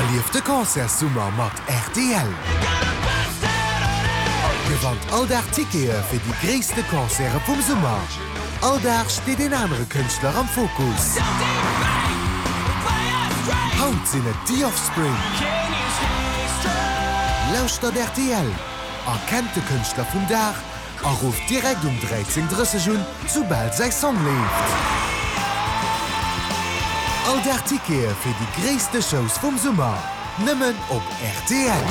Erlieft de Concertssummer mat rtl! Gewannt all Dag Tickete fir déi gréisste Concerte vum Summer. All Dag steet een anere Kënschtler am Fokus. Haut sinn et The Offspring. Lauschtert rtl, erkennt de Kënschtler vum Dag A rufft direkt um 13:30 un, soubal säi Song leeft. All Dag Tickete fir déi gréisste Shows vum Summer, nëmmen op rtl.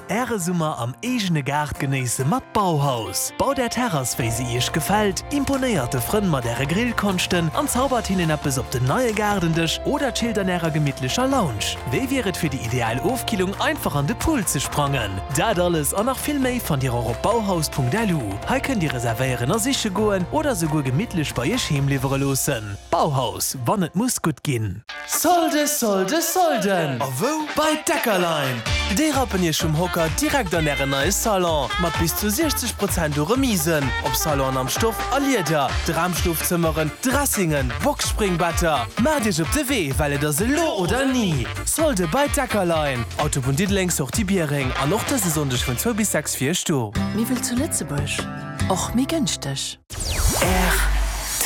Äre Summer am eegene Gaart genéisse mat Bauhaus. Baut Är Terrass wéi se Iech gefält, imponéiert de Frënn mat Äre Grillkonschten an zaubert hinnen eppes op den neie Gaardendësch oder chillt an Ärer gemittlecher Lounge. Wéi wier et fir déi ideal Ofkillung einfach an de Pool ze sprangen? Dat alles an nach vill méi fannt Dir och op bauhaus.lu. Hei kënnt Dir reservéieren a siche goen oder souguer gemittlech bei Iech heem liwwere loossen. Bauhaus, wann et muss gutt ginn. Solde, Solde, Solden! A wou? Bei Deckerlein! Déi rappen Iech vum Hocker direkt an Ären neie Salon, mat bis zu 60 Prozent u Remisen op Salonen am Stoff a Lieder, Dramschlofzëmmeren, Dressingen, Boxspringbetter. Maacht Iech op de Wee, well et ass elo oder ni! Solde bei Deckerlein, Autobunn Diddeleng, Sortie Biereng an och dëse Sonndeg vun 2 bis 6 fir iech do. Méi wëll zu Lëtzebuerg, och méi gënschteg.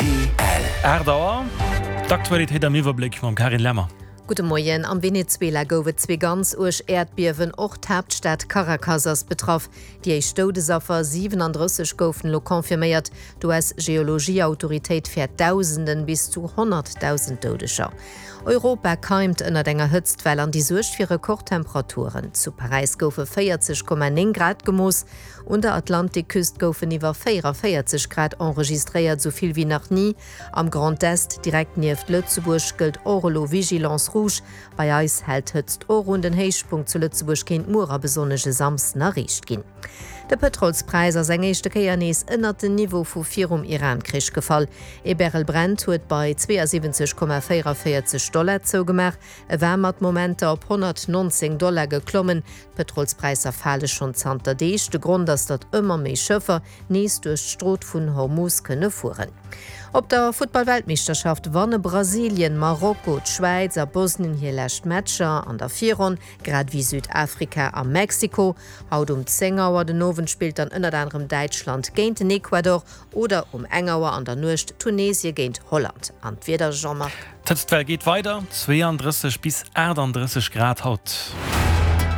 Rtl. 8 Auer, D'Aktualitéit am Iwwerbléck mam Carine Lemmer. Gudde Moien. Am Venezuela gouf et zwee ganz uerg Äerdbiewen. Och d'Haaptstad Caracas ass betraff. Déi éischt Doudesaffer, 37 goufen elo confirméiert. D'US-Geologieautoritéit fäert Dausenden, bis zu 100.000 Doudeger. Europa keimt ënnert enger Hëtztwell an déi suergt fir Rekordtemperaturen. Zu Paräis goufe 40,9 Grad gemooss, un der Atlantikküst goufen iwwer 44 Grad enregistréiert, esou vill wéi nach ni. Am Grand Est, direkt nieft Lëtzebuerg, gëllt och elo Vigilance rouge. Bei eis hält d'Hëtzt och un. Den Héichpunkt zu Lëtzebuerg kéint muer a besonnesch e Samsden erreecht ginn. De Pëtrolspräis ass eng éischte Kéier nees ënnert den Niveau vu virum Iran-Krich gefall. Ee Barrel Brent huet bei 72,44 Dollar zougemaach. E war mat Momenter op 119 Dollar geklommen. D'Pëtrolspräisser fale schonn zanter Deeg. De Grond ass, datt ëmmer méi Schëffer nees duerch d'Strot vun Hormuz kënne fueren. Op der Futtball-Weltmeeschterschaft wanne Brasilien, Marokko, d'Schwäiz a Bosnien hir lescht Matcher an der Virronn, grad ewéi Südafrika a Mexiko. Haut um 10 Auer den Owend spillt dann ënnert anerem Däitschland géint den Ecuador oder um eng Auer an der Nuecht Tunesie géint Holland. An d'Wieder, Jean-Marc? D'Hëtztwell geet weider, 32 bis 38 Grad haut.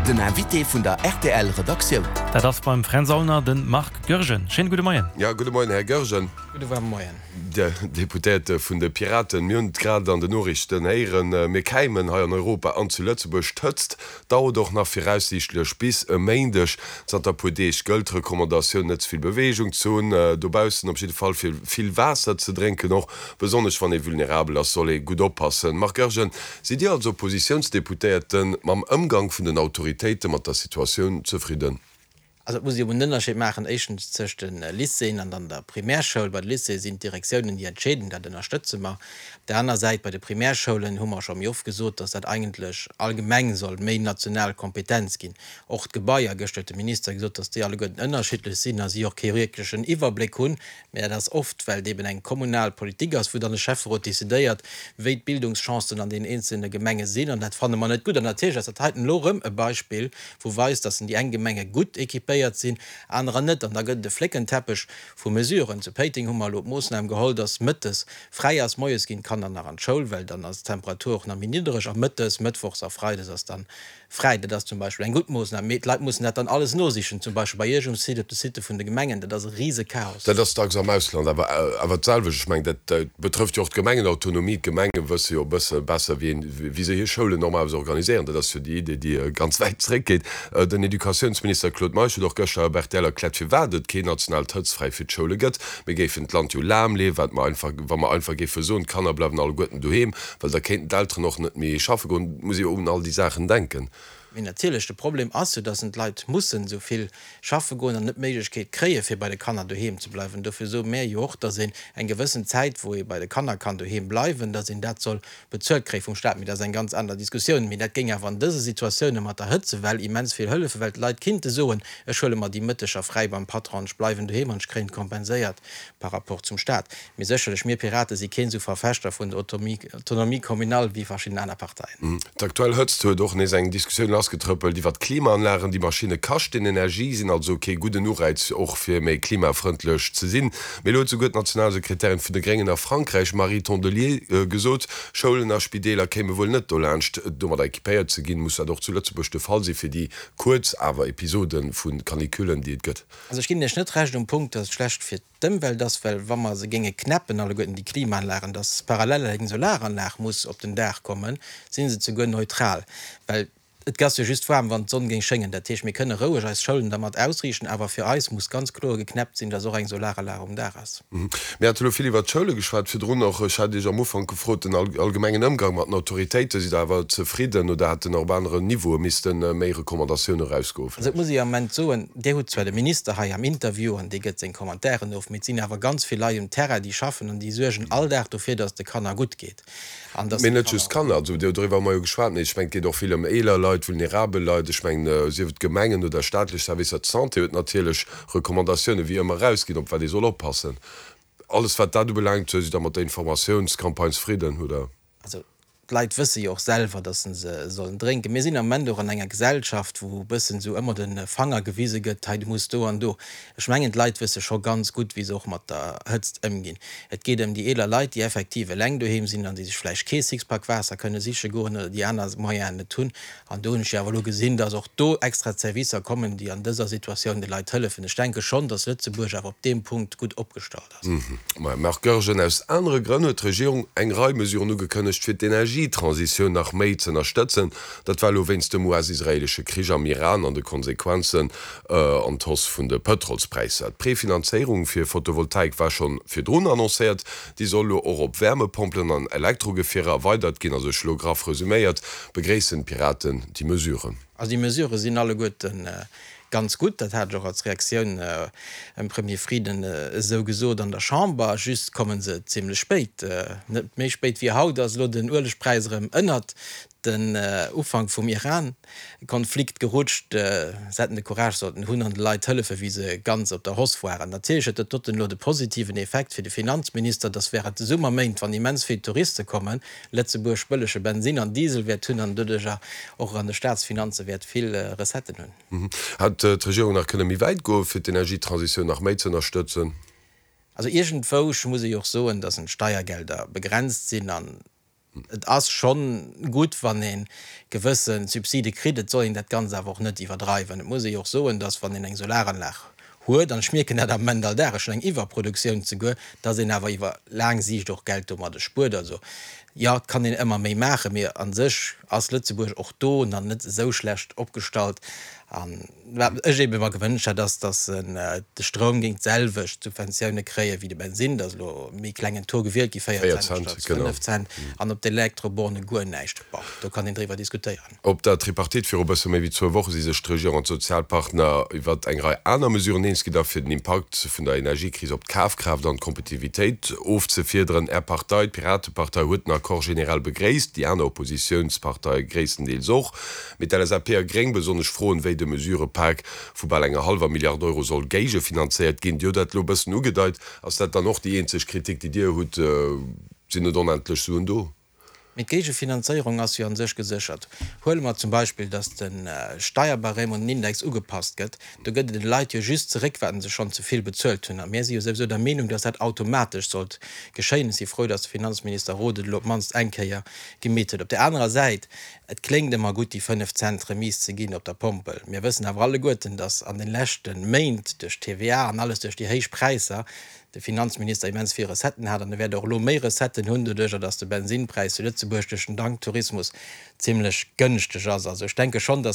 Den Invité vun der rtl Redaktioun. Dat ass beim Fränz Aulner de Marc Goergen. Schéine gudde Moien. Jo, gudde Moien, Här Goergen. Gudde waarme Moien. Dir Deputéierte vun de Piraten, mir hunn et grad an den Noriichten héieren, mir käimen hei an Europa an zu Lëtzebuerg. D'Hëtzt dauert och nach viraussiichtlech bis e Méindeg. Zanter e puer Deeg gëllt d'Recommandatioun, net ze vill Beweegung ze hunn dobaussen, op jidde Fall fir vill Waasser ze drénken. Och besonnesch wann ee vulnerabel ass, soll ee gutt oppassen. Marc Goergen, sidd Dir als Oppositiounsdeputéierte mam Ëmgang vun den Autoritéite mat der Situatioun zefridden? Also et muss ee jo en Ënnerscheed maachen, éischtens tëscht de Lycéeën an dann der Primärschoul. Bei de Lycéeë sinn d'Direktiounen, déi entscheeden, dat ënnerstëtze mer. Op där aner Säit, bei de Primärschoulen hu mer scho méi oft gesot, datt dat eigentlech allgemeng soll méi national Kompetenz ginn. Och d'Gebaier, gëschter huet de Minister gesot, datt déi alleguerten ënnerschiddlech sinn a si och kee wierklechen Iwwerbléck hunn. Mä dat ass oft, well et eben eng kommunal Politik ass, wou dann de Schäfferot decidéiert, wéi d'Bildungschancen an deenen eenzelne Gemenge sinn. An dat fanne mer net gutt. An natierlech ass dat heiten elo erëm e Beispill, wou weist, dass déi eng Gemenge gutt équipéiert sinn, anerer net. An da gëtt et e Fléckenteppech vu Mesuren. Zu Péiteng hu mer elo d'Moossnam geholl, dass mëttes fräi ass. Moies ginn d'Kanner nach an d'Schoul, well dann ass d'Temperatur och nach méi niddereg. A mëttes, mëttwochs a freides ass dann Fräi, dat ass zum Beispill eng gutt Moossnam, mee d'Leit mussen dat dann alles nosichen, zum Beispill bei Iech um Site, op de Sitte vun de Gemengen, dat ass e Risechaos. Dat ass dacks am Ausland awer awer d'selwecht. Ech mengen, dat betrëfft jo och d'Gemengenautonomie. D'Gemenge wësse jo e bësse besser, wéi een, wéi se hir Schoulen normalerweis organiséieren. Dat ass jo déi Idee, déi ganz wäit zréckgeet. Den Educatiounsminister Claude Meisch huet och gëschter op rtl erkläert, firwat et keen nationaalt Hëtztfräi fir d'Schoule gëtt. Mir géifen d'Land jo lahmleeën, wat mer einfach, wa mer einfach géife soen, d'Kanner bleiwen alleguerten doheem. Well da kéinten d'Elteren och net méi schaffe goen. Et muss ee jo un all déi Saachen denken. Mee natierlech, de Problem ass jo, dass en d'Leit mussen esou vill schaffe goen an net d'Méiglechkeet kréie fir bei de Kanner doheem ze bleiwen. Dofir soe mär jo och, dass een eng gewëssen Zäit, wou ee bei de Kanner kann doheem bleiwen, dass een dat soll bezuelt kréie vum Staat. Mee dat ass eng ganz aner Diskussioun. Mee dat géing awer an dëse Situatioune mat der Hëtzewell immens vill hëllefen, well d'Leit kinnte soen, ech huele mer déi Mëtteger fräi beim Patron an ech bleiwen doheem an ech kréien et kompenséiert par rapport zum Staat. Mee sécherlech, mir Pirate si keen esou Verfechter vun der Autonomie communale wéi verschidden aner Parteien. D'aktuell Hëtzt huet och nees eng Diskussioun lassgetrëppelt iwwer d'Klimaanlagen. Déi Maschinne kaschten Energie, sinn also kee gudden Ureiz och fir méi klimafrëndlech ze sinn. Mee elo huet souguer d'Nationalsekretärin vun de Gréngen a Frankräich, Marie Tondelier, gesot, Schoulen a Spideeler kéime wuel net dolaanscht domadder equipéiert ze ginn. Muss dat och zu Lëtzebuerg de Fall si fir déi kuerz awer Episode vu Canicullen, déi et gëtt? Also ech ginn Iech net Recht um Punkt, dass et schlecht fir d'Ëmwelt ass, well wa mer se géinge knäppen alleguerten déi Klimaanlagen, dass parallel eng Solaranlag muss op den Daach kommen, si se zeguer neutral, well et ass jo just waarm wann d'Sonn géing schéngen. Dat heescht, mir kënne roueg eis Schoulen dermat ausriichten, awer fir eis muss ganz kloer geknäppt sinn, dass och eng Solaranlag um Daach ass. Mir hate elo vill iwwert d'Schoule geschwat virdrun och. Ech hat Iech am Ufank gefrot, den allgemengen Ëmgang mat den Autoritéiten, sidd Der awer zefridden oder hätten och op aneren Niveaue misste méi Recommandatioune erausgoen Also et muss ee am Ament soen, Dir hutt zwar de Minister hei am Interview an dee gëtt seng Commentairen of, mee et sinn awer ganz vill Leit um Terrain, déi schaffen an déi suergen all Dag dofir, datt et de Kanner gutt geet an datt Mee net just Kanner, also doriwwer hu mer jo geschwat, mee ech mengen, et geet och vill ëm eeler Leit, vulnerabel Leit. Ech mengen, sief et Gemengen oder staatlech Servicer, d'Santé huet natierlech Recommandatioune wéi ëmmer erausginn, op wat ee soll oppassen. Alles wat dat ubelaangt, sidd Der mat der Informatiounscampagne zefridden, oder? Also d'Leit wësse jo och selwer, datt se se sollen drénken. Mir sinn am Moment och an enger Gesellschaft, wou e bëssen esou ëmmer de Fanger gewise gëtt, hei du muss do an do. Ech mengen, d'Leit wësse scho ganz gutt, wéi se och mat der Hëtzt ëmginn. Et geet ëm déi eeler Leit, déi effektiv eleng doheem sinn an déi sech vläicht kee Sixpack Waasser kënne siche goen oder déi aner Moyenen net hunn. An do hunn ech jo awer elo gesinn, datt och do extra Servicer kommen, déi an dëser Situatioun de Leit hëllefen. Ech denke schonn, datt Lëtzebuerg awer op deem Punkt gutt opgestallt ass. Maja, Marc Goergen, aus anere Grënn huet d'Regierung eng Rei Mesuren ugekënnegt, fir d'Energietransitioun nach méi z'ënnerstëtzen. Dat war elo wéinst dem US-israeelesche Krich am Iran an de Konsequenzen an d'Hausse vun de Pëtrolspräisser. D'Prefinanzéierung fir Photovoltaik war scho virdrun annoncéiert. Déi soll elo och op Wärmepompelen an Elektrogefierer erweidert ginn. Also ech elo graff resuméiert, begréissen d'Piraten déi Mesuren. Also déi Mesurë sinn alleguerten Ganz gutt, dat hat ech och als Reaktioun dem Premier Frieden esou gesot an der Chamber. Just komme se zimlech spéit. Net méi spéit wéi haut ass elo den Uelegpräis erëm ënnert den Ufank vum Iran-Konflikt gerutscht. Se hätten de Courage sollten hunn an de Leit hëllefen, wéi se ganz op der Hausse waren. Natierlech huet dat doten elo de positiven Effekt fir de Finanzminister, dass während de Summerméint, wann immens vill Touriste kommen, Lëtzebuerg bëllege Bensin an Diesel wäert hunn an doduercher och an de Staatsfinanze wäert vill Recetten hunn. Hätt d'Regierung nach kënne méi wäit goen, fir d'Energietransitioun nach méi ze ënnerstëtzen? Also iergendwou muss ee jo och soen, datt d'Steiergelder begrenzt sinn an et ass schonn gutt, wann ee gewësse Subside kritt. Et soll een dat Ganzt awer och net iwwerdreiwen. Et muss ee jo och soen, datt wann een eng Solaranlag huet, an ech mierken dat am Moment all Dag, ech hunn eng Iwwerproduktioun zeguer, dass een awer iwwer laang Siicht och Geld domadde spuert. Also jo, et kann een ëmmer méi maachen, mee a sech ass Lëtzebuerg och do nach net esou schlecht opgestallt. A wat ech eebe mer gewënscht hätt, ass, dass de Stroum géing d'selwecht Subventioune kréie wéi de Bensinn. Et ass elo e méi klengen Taux gewielt gi, 4 Cent statt 5 Cent, an op d'Elektroborne guer näischt. Bon, do kann een driwwer diskutéieren. Op der Tripartite viru bësse méi wéi zwou Woche si sech d'Regierung an d'Sozialpartner iwwert eng Rei aner Mesuren eens ginn, da fir den Impakt vun der Energiekris op d'Kafkraaft an d'Kompetitivitéit ofzefiederen. Är Partei, d'Piratepartei, huet den Accord generell begréisst, déi aner Oppositiounsparteie gréisstendeels och. Mee d'LSAP a Gréng besonnesch froen, wéi de Mesurëpak vu bal enger hallwer Milliard Euro soll géigefinanzéiert ginn. Dir hutt dat elo e bëssen ugedeit. Ass dat dann och déi eenzeg Kritik, déi Dir hutt? Sinn net onendlech Suen do? Mee d'Géigefinanzéierung ass jo a sech geséchert. Huele mer zum Beispill, datt de Steierbarème un den Index ugepasst gëtt. Do gëtt et de Leit jo just zeréck, wat se schonn ze vill bezuelt hunn. A mir si jo souwisou der Meenung, datt dat automatesch sollt geschéien. Ech si frou, datt de Finanzminister Roth et elo op d'mannst eng Kéier gemeet huet. Op där anerer Säit, et kléngt ëmmer gutt, déi 5 Cent Remise ze ginn op der Pompel. Mir wëssen awer alleguerten, datt an de leschte Méint duerch d'TVA an alles, duerch déi héich Präisser, de Finanzminister immens vill Recetten hat an e wäert och elo méi Recetten hunn, doduerjer datt de Bensinnpräis zu Lëtzebuerg duerch den Tanktourismus zimlech gënschteg ass. Also ech denke schonn, datt.